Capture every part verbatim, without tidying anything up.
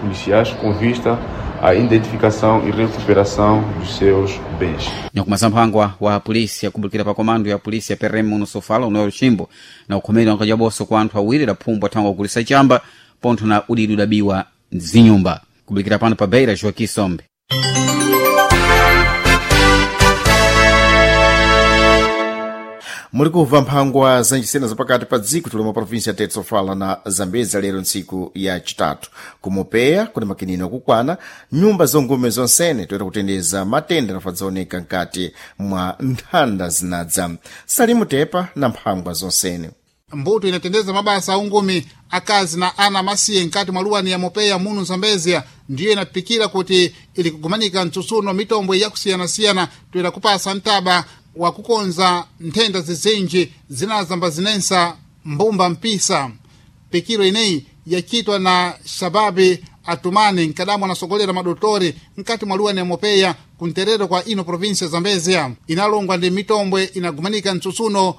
policiais com vista à identificação e recuperação dos seus bens. Nyakumasa mphangwa wa polisi akubulikira pa komando ya polisi ya P R M muno Sofala unoyo Chimbo na ukhomeri wankajaboso kwa anthu awiri daphumbwa thangwa kugulisa chamba pontho na udidi udabiwa zinyumba. Kubulikira pano pa Beira, Joaquim Sombe. Muli kumva mphangwa zanjisena zapakati pa dziko tuloma provinsi ya Tete, Sofala na Zambeza lero ntsiku ya chitatu. Kumupeya kuli makinino akukwana nyumba zongume zonsene toyera kutendeza matenda anafadzaoneka mkati mwa nthanda zinadza. Salimu Tepa na mphangwa zonsene. Mbuto inatendeza mabasa aungumi akazi na ana masiye nkati mwa luwani ya Mopeya munu Zambezia ndiyo inapikira kuti ili kugumanika mtsutsuno mitombwe yakusiyanasiyana toyera kupasa mtaba wa kukonza nthenda zizinji zinazamba zinensa mbumba mpisa. Pikiro ineyi yachitwa na Shababi Atumani nkadamu anasogolera madotori nkati mwa luwani ya Mopeya kunterero kwa ino provinsia ya Zambezia. Inalongwa ndi mitombwe inagumanika mtsutsuno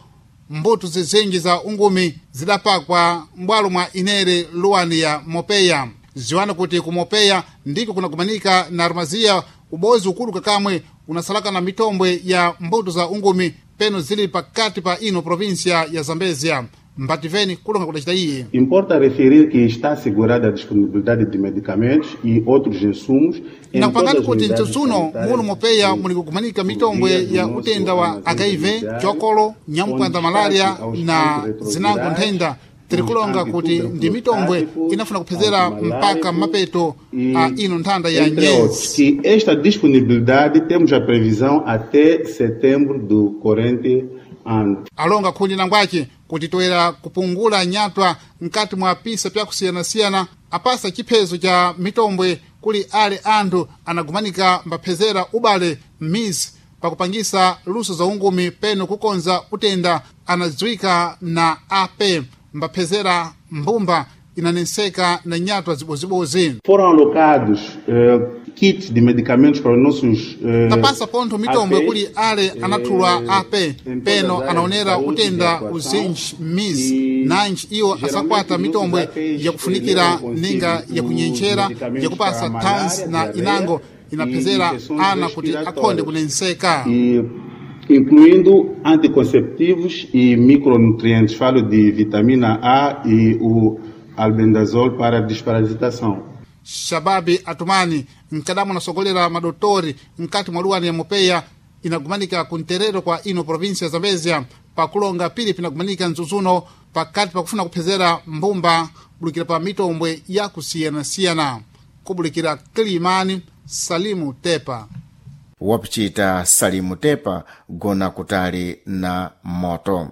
mbuto zizinji za ungumi zidapakwa m'bwalo mwa inere luwani ya Mopeya. Ziwani kuti ku Mopeya ndiko kunagumanika na armaziya ubozi ukulu kakamwe unasalaka na mitombwe ya mbuto za ungumi peno zili pakati pa ino provinsia ya Zambezia. Mbativeni kulonga kudacita iye. Importa referir que está assegurada a disponibilidade de medicamentos e outros insumos em Nakupangani todas as kuti unidades mtsutsuno sanitárias muno Mopeya e muli kugumanika mitombwe via do ya nosso utenda wa armazém H I V, judiciário, chokolo, com nyamukwanda destaque malaria aos na antirretrovirais, zinango nthenda. Tirikulonga os kuti ndi mitombwe inafuna kuphezera mpaka antituberculostáticos, mapeto e a ino nthanda ya entre outros, nyezi. que esta disponibilidade temos a previsão até setembro do corrente ano. Alonga khundi nangwace kuti toyera kupungula nyatwa mkati mwa pisa pyakusiyanasiyana apasa chiphezo cha mitombwe kuli ale anthu anagumanika mbaphezera ubale m'mizi pakupangisa luso za ungumi peno kukonza utenda anadziwika na A P mbaphezera mbumba inanenseka na nyatwa zibozibozi. Foram alocados eh, kits de medicamentos para os nossos eh, Tapasa pontho mitombwe A P, kuli ale anathulwa eh, A P em todas peno as áreas de anaonera saúde e de utenda atuação uzinji m'mizi e nanji iwo geralmente asakwata os nossos mitombwe A Ps yakufunikira levam consigo ninga os yakunyenchera medicamentos yakupasa para a malária, thansi na diarreia inango e inaphezera infecções ana kuti akhonde respiratórias, kunenseka. e incluindo anticonceptivos e micronutrientes. Falo de vitamina A e o albendazol para desparasitação. Shababi Atumani mkadamu anasogolera madotori mkati mwa luwani ya Mopeya inagumanika kunterero kwa ino provinsia ya Zambezia pakulonga pili pinagumanika mdzudzuno pakati pakufuna kuphezera mbumba bulikira pa mitombwe yakusiyanasiyana. Kubulikira Kilimani, Salimu Tepa. Wapichita Salimu Tepa gona kutali na moto.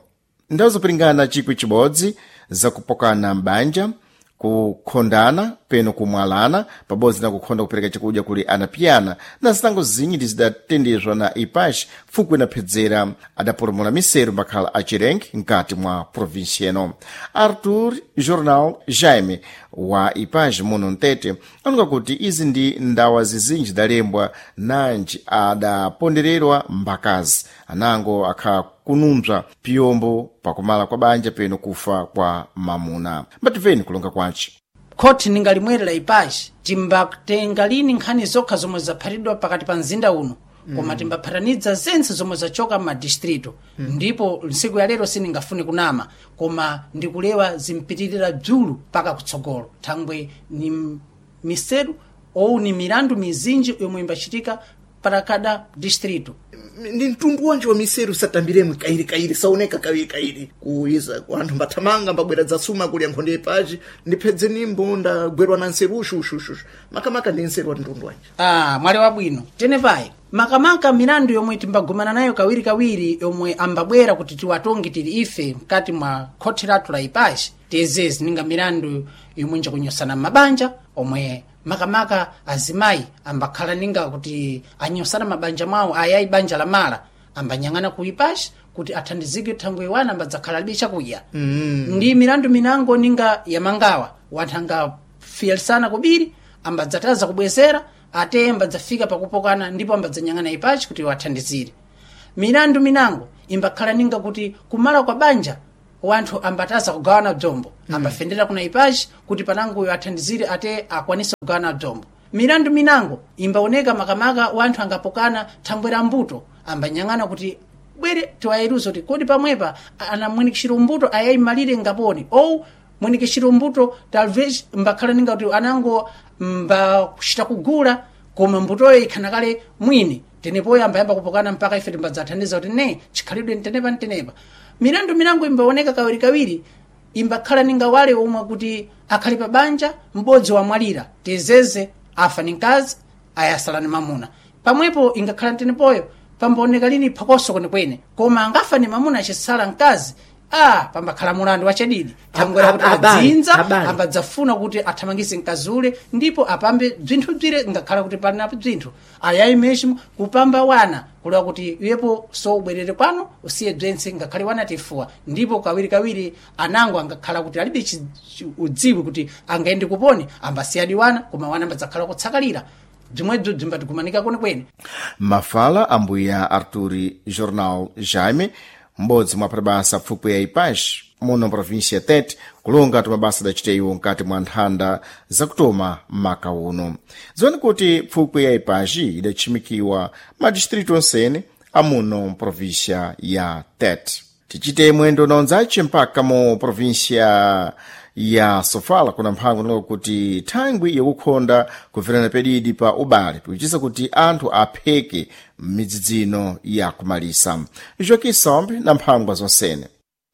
Ndawu zopiringana chikwi chibodzi zakupokana m'banja, kukhondana peno kumwalana pabodzi na kukhonda kupereka chakudya kuli anapiyana na zitango zinyi ndi zidatendezwa na Ipash fukwe inaphedzera adapulumula miseru makhala a Chirengi mkati mwa provinsi eno. Arthur Jornal Jaime wa Ipash muno Mtete anunga kuti izi ndi ndawa zizinji zidalembwa nanji adapondererwa mbakazi anango akhala kunumpsa piyombo pakumala kwa banja peno kufa kwa mamuna. Mbatimveni kulonga kwace. Khoti ningalimwerera ipachi timbatenga lini nkhani zokha zomwe zaphatidwa pakati pa mzinda uno, koma timbaphatanidza zense zomwe zachoka m'madistrito mm. Ndipo ntsiku ya lero sindingafune kunama, koma ndikulewa zimpitirira dzulu paka kutsogolo thangwe ni miseru ou ni milandu mizinji yomwe imbachitika para cada distrito. Ndi mtundu wanji wa miseru satambiremwe kairi kairi, saoneka kawiri kairi kuiza anthu mbathamanga mbabwera dzasuma kulya nkhonde ipaji ndiphedze nimbo ndagwerwa na nseru ushushushu makamaka ndi nseru wa mtundu wanji? Ah, mwali wabwino tenepayi. Makamaka milandu yomwe timbagumana nayo kawirikawiri yomwe ambabwera kuti tiwatonge tili ife mkati mwa khothi lathu la ipachi tiyezezi ninga milandu yomwe njakunyosana m'mabanja omwe makamaka azimayi ambakhala ninga kuti anyosana mabanja mwawo ayayi banja la mala ambanyang'ana ku ipachi kuti athandizike thangwe iwana ambadzakhala alibe chakudya mm. Ndi milandu minango ninga yamangawa wanthu angafiyalisana kubiri ambadzataza kubwezera ate ambadzafika pakupokana ndipo ambadzanyang'ana ipachi kuti wathandizire. Milandu minango imbakhala ninga kuti kumala kwa banja wanthu ambataza kugawana bzombo mm. ambafendera kuna ipachi kuti pananguyo athandizire ate akwanise kugawana bzombo. Milandu minango imbaoneka makamaka wanthu angapokana thangwe la mbuto, ambanyang'ana kuti bwere tiwayeruze kuti kodi pamwepa ana mwinikishiro mbuto ayayimalire ngaponi ou mwinikishiro mbuto talvez mbakhala ninga kuti anango mbakuchita kugula koma mbutoyo ikhana kale mwini tenepoyo ambayamba kupokana mpaka ife timbadzathandiza kuti ne chikhalidwe ntenepa ntenepa. Milandu minango imbaoneka kawirikawiri imbakhala ninga wale omwe kuti akhali pa banja m'bodzi wamwalira tezeze afa ni mkazi ayasala ni mamuna pamwepo ingakhala ntenepoyo pambaoneka lini phokoso kwenekwene koma angafa ni mamuna achisala mkazi ah pambakhala mulandu wachadidi thangwera kuti adzinza ambadzafuna kuti athamangise mkazi ule ndipo apambe bzinthu bzire ngakhala kuti palinapo bzinthu ayayi meximo kupamba wana kulewa kuti iyepo so ubwerere kwanu usiye bzentse ngakhale wana tifuwa ndipo kawirikawiri anango angakhala kuti alibe chi- chi- udziwi kuti angaende kuponi ambasiyadi wana koma wana ambadzakhala kutsakalira bzimwebzo bzimbatigumanika kwenekwene. Mafala ambuya Arturi Jornal Jaime, m'bodzi mwa mabasa pfupwi ya ipax muno província Tete, kulonga tumabasa adacita iwo nkati mwa nthanda zakutoma maka uno. Dziwani kuti pfupwi ya ipaxi idachimikiwa madistritu onsene amuno província ya Tete. Tichite mwendo na onzace mpaka mu província ya Sofala kuna mphango nalo kuti thangwi yakukhonda kuverana pedidi pa ubale pikuchisa kuti anthu apheke m'midzidzino ya kumalisa. Joaquim Sombe na mphangwa zonsene.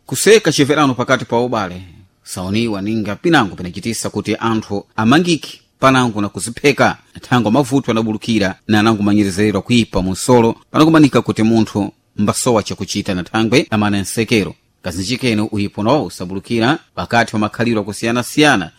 Kuseka chiverano pakati pa ubale saoniwa ninga pinango pinachitisa kuti anthu amangike panango na kuzipheka thango mavuto anabulukira na anangomanyerezeredwa kuipa munsolo panakumanika kuti munthu mbasowa chakuchita na thangwe amana nsekero kazinjikene uyipo nawo usabulukira pakati pa makhalidwe akusiyana-siyana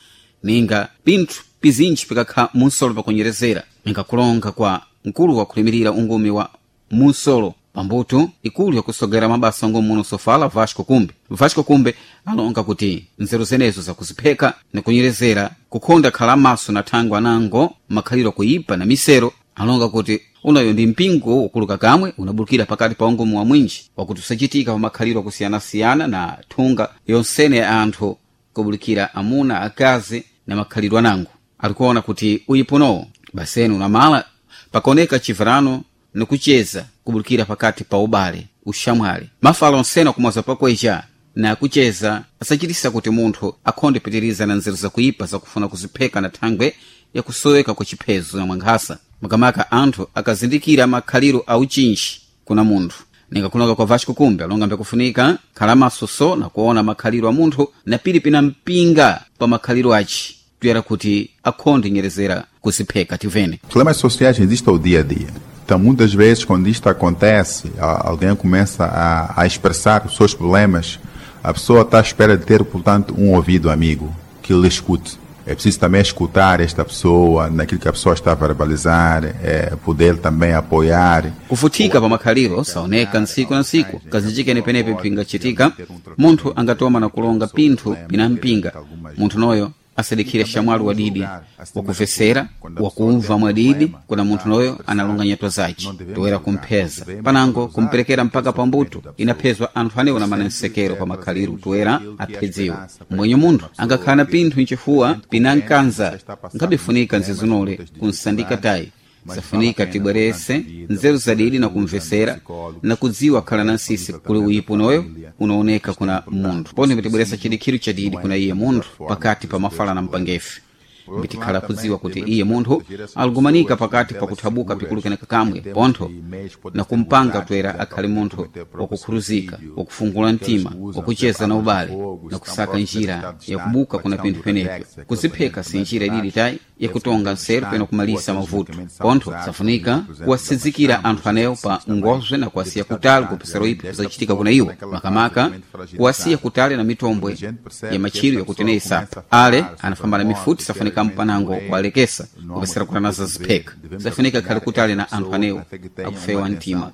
ninga pinthu pizinji pikakha munsolo pakunyerezera ninga kulonga kwa mkulu wakulimirira ungumi wa munsolo pambuto ikulu yakusogera mabasa ngomuno sofala Vasco Kumbe. Vasco Kumbe alonga kuti nzeru zenezo zakuzipheka nikunyerezera kukhonda khala maso na thangwe anango makhaliro kuipa na misero alonga kuti unayo ndi mpingo ukuluka kamwe unabulukira pakati pa ungomu wa mwinji wakuti usachitika pa makhaliro akusiyana-siyana na thunga yonsene ya anthu kubulukira amuna akazi na makhalidwe anango alikuona kuti uyiponowo baseni unamala pakaoneka chiverano nikucheza kubulukira pakati pa ubale ushamwali mafala onsene kumwaza pakwecha na kucheza asachitisa kuti munthu akhonde pitiriza na nzeru zakuipa zakufuna kuzipheka na thangwe yakusoweka kwa chiphezo na mwankhasa makamaka anthu akazindikira makhaliro a uchinji kuna munthu ningakulonga kwa Vasco Kumbe alonga mbekufunika khala maso na kuona makhaliro a munthu na pili pina mpinga pa makhaliro aci tuyera kuti akhonde nyerezera kuzipheka tivene. Problemas sociais existem ao dia a dia. Então, muitas vezes, quando isto acontece, a- alguém começa a, a expressar os seus problemas, a pessoa está à espera de ter, portanto, um ouvido amigo que lhe escute. É preciso também escutar esta pessoa, naquilo que a pessoa está a verbalizar, é, poder também apoiar. Kufutika pa makhaliro saoneka ntsiku na ntsiku kazinjikene penepe pingachitika munthu angatoma na kulonga pinthu pinampinga munthu noyo asadikhire shamwali wadidi wakuvesera wakumva mwadidi kuna munthu noyo analonga nyatwa zace toera kumpheza panango kumperekera mpaka pambuto inaphezwa anthu anewo na manensekero pa makhaliro toera aphedziwe mwenye munthu angakhala na pinthu nchifuwa pinankanza nkhabifunika nzizinole kunsandika tayi safunika tibwerese nzeru zadidi na kumvesera na kudziwa khala na nsisi kuli uyipo noyo unaoneka kuna munthu pone mbitibweresa chidikhiro chadidi kuna iye munthu pakati pa mafala na mpangefe mbitikhala kudziwa kuti iye munthu aligumanika pakati pa kuthabuka pikulukeneka kamwe pontho na kumpanga toera akhale munthu wakukhuruzika wakufungula mtima wakucheza na ubale na kusaka njira yakubuka kuna pinthu penepyo kuzipheka si njira ididi tayi yakutonga nseru pena kumalisa mavuto pontho safunika kuwasizikira anthu anewo pa ngozwe na kuwasiya kutali kupesera ipo kuzachitika kuna iwo makamaka kuwasiya kutali na mitombwe ya machiro yakuteneyi sapa ale anafamba na mifuti safunika mpanango kuwalekesa kupesera kuti anazazipheka safunika khale kutali na anthu anewo akufewa mtima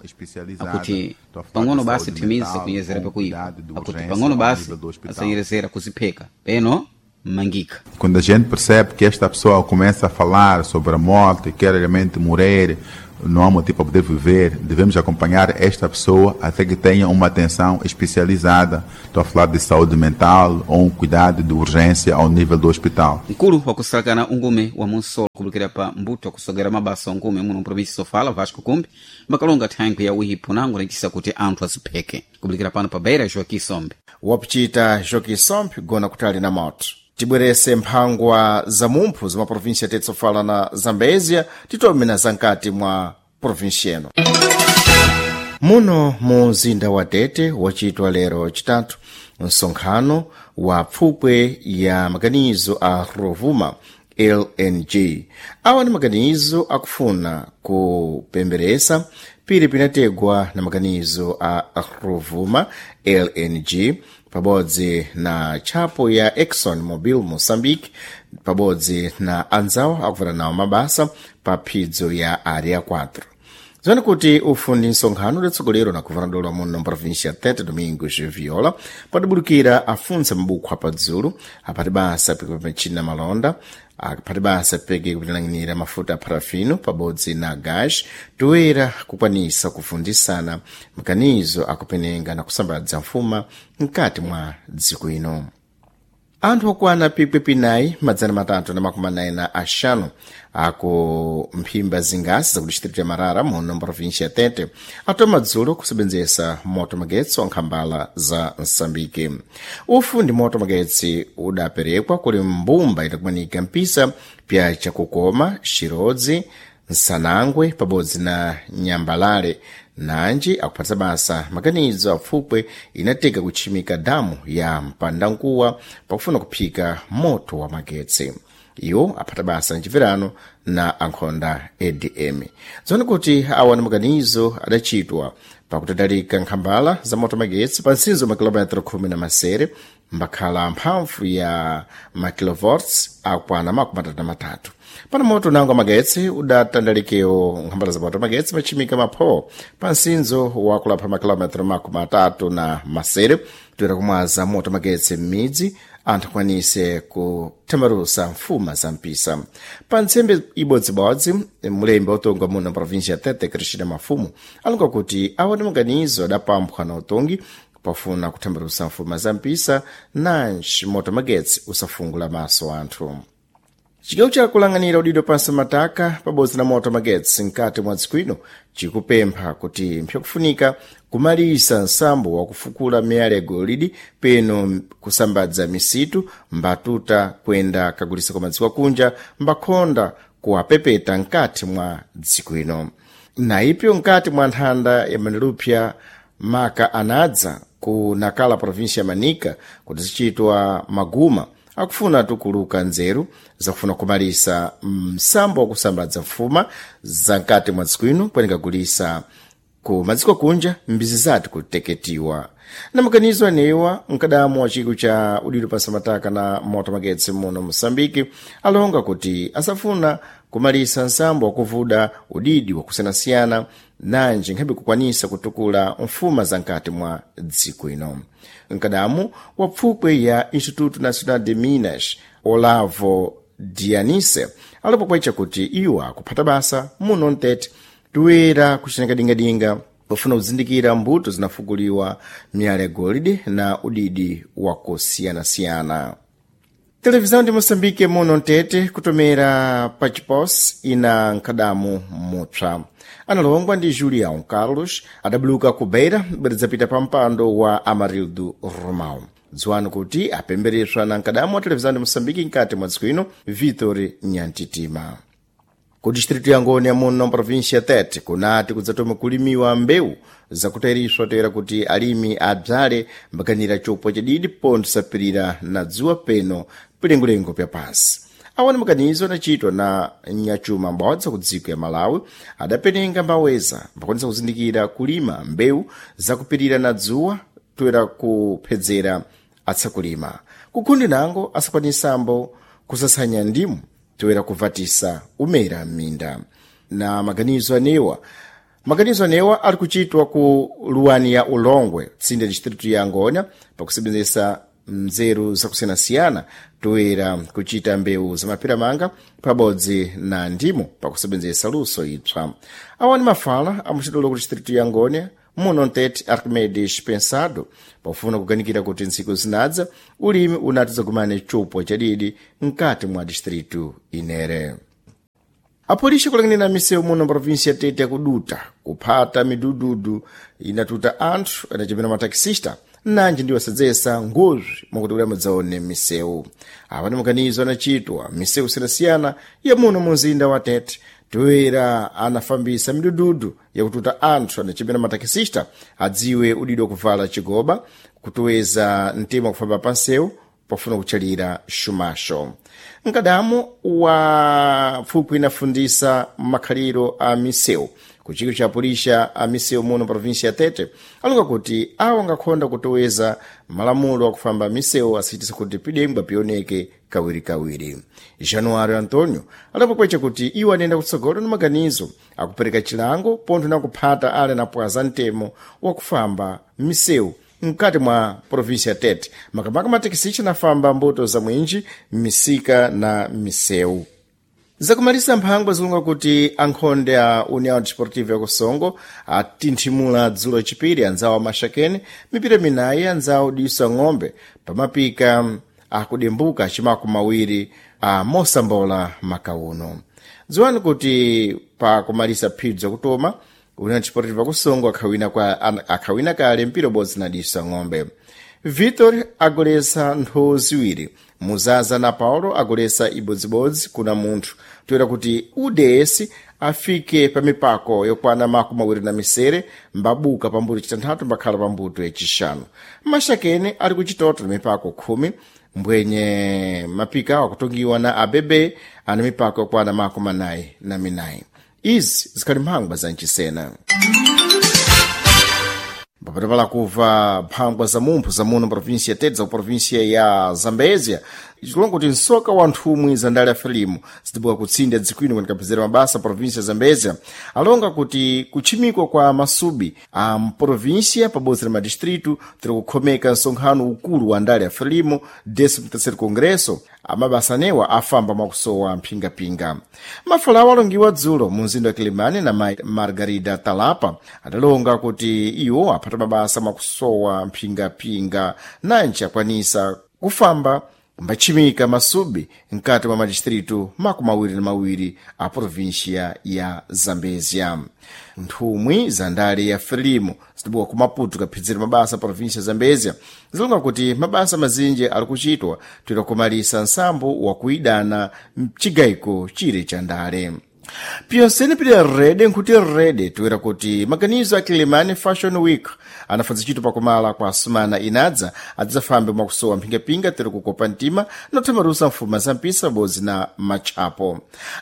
akuti pang'ono basi thimize kunyezera pakuipa akuti pang'ono basi asanyerezera kuzipheka peno Mangika. Quando a gente percebe que esta pessoa começa a falar sobre a morte, quer realmente morrer, não há motivo para poder viver, devemos acompanhar esta pessoa até que tenha uma atenção especializada. Estou a falar de saúde mental ou um cuidado de urgência ao nível do hospital. Mkulu wakusalakana ungume wa munsolo kulikira pa mbuto akusogera mabasa ungume muno mprovinsi Sofala Vasco Kumbi makalonga thankwi ya uhipo nango nachisa kuti anthu azipheke kubulikira pano pa Beira Joaquim Sombe. Wapuchita Joaquim Sombe gona kutali na moto. Tibwerese mphangwa za mumphu za maprovinsi ya Sofala na Zambezia titome na zankati mwa provinsi eno. Muno mu mzinda wa Tete wachitwa lero chitatu msonkhano wa pfupwe ya maganizo a Rovuma L N G. Awa ni maganizo akufuna kupemberesa pili pinategwa na maganizo a Rovuma L N G pabodzi na tchapo ya Exxon Mobil Moçambique pabodzi na anzawo akuvana nawo mabasa pa phidzo ya Área quatro. Zoni kuti ufu ndi msonkhano udatsogolero na guvernador wa muno mprovinsia Tete Domingos Viola padabulukira afunsa mabukho apadzulu apati basa peke malonda aphati basa peke kupitilang'anira mafuta a parafino pabodzi na gas toera kukwanisa kufundisana makanizo akupenenga na kusambadza mfuma mkati mwa dziko ino. Anthu okwana pikwi pinayi madzana matatu na makumi anayi na axanu aku mphimba zingasi zaku distrito ya Marara muno mprovinsia ya Tete atoma dzulo kusebenzesa moto magetsi wa nkhambala za Msambiki. Ufu ndi moto magetsi udaperekwa kuli mbumba idakumanika mpisa pya Chakukoma, Xirodzi, Nsanangwe pabodzi na Nyambalale nanji akuphatisa basa maganizo apfupwe inateka kutchimika damu ya mpandankuwa pakufuna kuphika moto wa magetsi. Iwo aphata basa mchipirano na ankhonda A D M. Zoni kuti awa ni maganizo adachitwa pakutadalika nkhambala za moto magetsi pa nsinzo makilometro khumi na masere mbakhala mphamvu ya makilovolts akwana makumi atatu na matatu. Pano moto nango magetsi udatandalikewo nkhambala za moto magetsi machimika mapho pa nsinzo wakulapha makilometro makumi atatu na masere toera kumwaza moto magetsi m'midzi anthu akwanise kuthambalusa mfuma za mpisa. Pa ntsembe ibodzibodzi mulembi wotonga muno mprovinsia ya Tete Cristina Mafumu alonga kuti awa ndi maganizo adapamphwa na utongi pafuna kuthambalusa mfuma za mpisa nanji moto magetsi usafungula maso anthu. Chigawo chakulang'anira udindo pansi mataka pabodzi na moto magetsi mkati mwa dziko ino chikupempha kuti mpyakufunika kumalisa nsambo wakufukula miyala ya golide peno kusambadza misitu mbatuta kwenda kagulisa kwa madziko akunja mbakhonda kuwapepeta mkati mwa dziko ino. Na ipyo mkati mwa nthanda ya Manelupya maka anadza ku Nakala provinsia ya Manica kuti zichitwa maguma akufuna tukuluka nzeru zakufuna kumalisa msambo wakusambadza mfuma za mkati mwa dziko ino kwenikagulisa ku madziko kunja mbizi zati kuteketiwa. Na makanizo anewa mkadamu wa chiko cha udindo pansi mataka na moto magetsi muno Mosambiki alonga kuti asafuna kumalisa nsambo wakuvuda udidi wakusiyanasiyana nanji nkhabe kukwanisa kutukula mfuma za mkati mwa dziko ino. Mkadamu wa pfupwe ya Instituto Nacional de Minas Olavo Dianise alipokwecha kuti iwo akuphata basa muno mtete toera kucinakadingadinga pofuna kuzindikira mbuto zinafukuliwa miyala ya golide na udidi wakusiyanasiyana. Televisão de Moçambique muno mtete kutomera pachipos ina nkhadamu mupsa. Analongwa ndi Julião Carlos adabuluka ku Beira bweredzapita pa mpando wa Amarildo Romão. Dziwani kuti apembereswa na nkadamu wa televisão de Moçambique mkati mwa dziko ino Vitor Nyantitima. Ku distrito ya Ngoni ya muno província ya Tete kunati kudzatoma kulimiwa mbewu zakutairiswa toera kuti alimi abzale mbakanira chopwa chadidi pontho sapirira na dzuwa peno pilengolengo pya pansi. Awa ni makanizo anachitwa na nyachuma mbodza ku dziko ya Malawi adapenenga mbaweza mbakwanisa kuzindikira kulima mbewu zakupirira na dzuwa toera kuphedzera atsakulima. Kukhundi nango asakwanisambo kusasanya ndimu toera kuvatisa umera m'minda. Na maganizo anewa maganizo anewa ali kuchitwa ku luwani ya Ulongwe tsinde distritu ya Ngonya pakusebenzesa mzeru zakusiyanasiyana toera kuchita mbewu zamapira pabodzi na ndimo pakusebenzesa luso ipsa. Awa ni mafala amuchitulo ku distritu ya Ngônia muno ntete Arquimedes Pensado pofuna kuganikira kuti ntsiku zinadza ulimi unati zagumane chupwa chadidi mkati mwa distritu inere. Apolisi kulang'anira misewu muno provinsi ya Tete yakuduta kuphata midududu inatuta anthu anachepera matakisista nanji ndiwo asadzesa ngozi mwakuti kuti amadzaone misewu. Apa ndi maganizo anachitwa misewu isiyanasiyana ya muno mu mzinda wa Tete toera anafambisa midududu yakututa anthu anachepera matakisista adziwe udidi wakuvala chigoba kutoweza mtima wakufamba pansewu pofuna kutchalira xumaxo. Mkadamo wa pfupwi inafundisa makhaliro a misewu kuchiko cha pulisha a misewu muno provinsi ya Tete alonga kuti awo angakhonda kutoweza malamulo akufamba misewu asitisa kuti pidengwa pioneke kawirikawiri. Januário Antonio adapokwecha kuti iwo anayenda kutsogolo ni maganizo akupereka chilango pontho na kuphata ale anapwaza mtemo wakufamba misewu mkati mwa provinsi ya Tete, makamaka matekisichi anafamba mbuto za mwinji misika na misewu. Zakumalisa mphangwa zilonga kuti ankhonde a União Desportiva ya Kusongo atinthimula dzulo chipiri anzawo amaxakeni mipira minayi anzawo diso ng'ombe pamapika akudembuka chimako mawiri a mosambola makauno. Dziwani kuti pa kumalisa phibzo zakutoma União Desportiva Kusongo akhawina kwa akhawina kale mpira ubodzi na diso ng'ombe. Vitor agolesa ntho ziwiri, Muzaza na Paulo agolesa ibodzibodzi kuna munthu toera kuti U D S afike pa mipako yokwana makumi awiri na misere mbabuka pambuto chitanthatu mbakhala pambuto yachixanu. Maxakene ali kuchitoto na mipako khumi mbwenye mapika akutungiwa na A B B ana mipako yokwana makumi anayi na minayi. Izi zikhali mphangwa za mchisena. Papatapala kuva mphangwa za mumpho za muno provinsi ya Tete za provinsia ya Zambezia zikulonga kuti msoka wa nthumwi za ndale ya Frelimo zitibuka kutsinda dzikwino kunikapezera mabasa provinsia ya Zambezia alonga kuti kutchimikwa kwa masubi a mprovinsia pabodzi na madistritu tiri kukhomeka msonkhano ukulu wa ndale ya Frelimo décimo terceiro congresso amabasa anewa afamba mwakusowa mphingapinga. Mafalawo alongiwa dzulo mu mzinda wa Kilimani na mayi Margarida Talapa adalonga kuti iwo aphata mabasa mwakusowa mphingapinga nanji akwanisa kufamba mbatchimika masubi mkati mwa madistritu makumi awiri na mawiri a provinsia ya Zambezia. Nthumwi za ndale ya Frelimo zitibuka ku Maputo kaphedzera mabasa a provinsia ya Zambezia zilonga kuti mabasa mazinji ali kuchitwa toera kumalisa nsambo wakuidana mchigayiko chire cha ndale. Piyonsene pili rede nkuti rede toera kuti maganizo a Kilimani Fashion Week anafadza ntchito pakumala kwa asumana inadza adzafambe mwakusowa mphingapinga tere kukopa mtima nothamarusa mfuma za mpisa pabodzi na matchapo.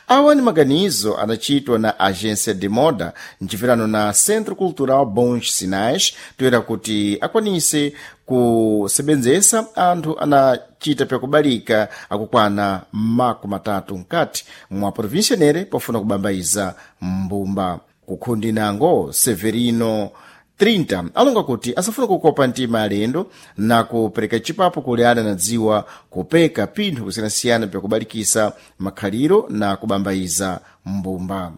Awa ni maganizo anachitwa na Agência de Moda mchipirano na Centro Cultural Bons Sinais toera kuti akwanise kusebenzesa anthu anachita pyakubalika akukwana makumi atatu mkati mwa provinsia nere pofuna kubambaiza mbumba. Kukhundi nango Severino trinta alonga kuti asafuna kukopa mtima alendo na kupereka chipapo kuli ana na dziwa kupeka pinthu kusiyanasiyana pyakubalikisa makhaliro na kubambaiza mbumba.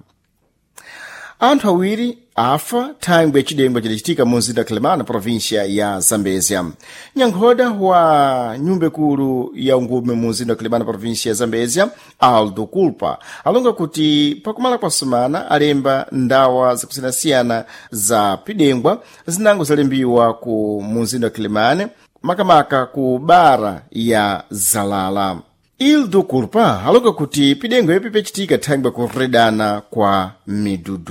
Anthu awiri afa thangwi yachidengwa chidachitika mu mzinda wa Quelimane, província ya Zambezia. Nyankhoda wa nyumba ikulu ya ungume mu mzinda wa Quelimane, província ya Zambezia, Aldo Culpa, alonga kuti pakumala kwa sumana alemba ndawa zakusiyanasiyana za pidengwa zinango zalembiwa ku mu mzinda wa Quelimane, makamaka ku bara ya Zalala. Ildo Culpa alonga kuti pidengwa ipi pyachitika thangwi kuredana kwa midudu.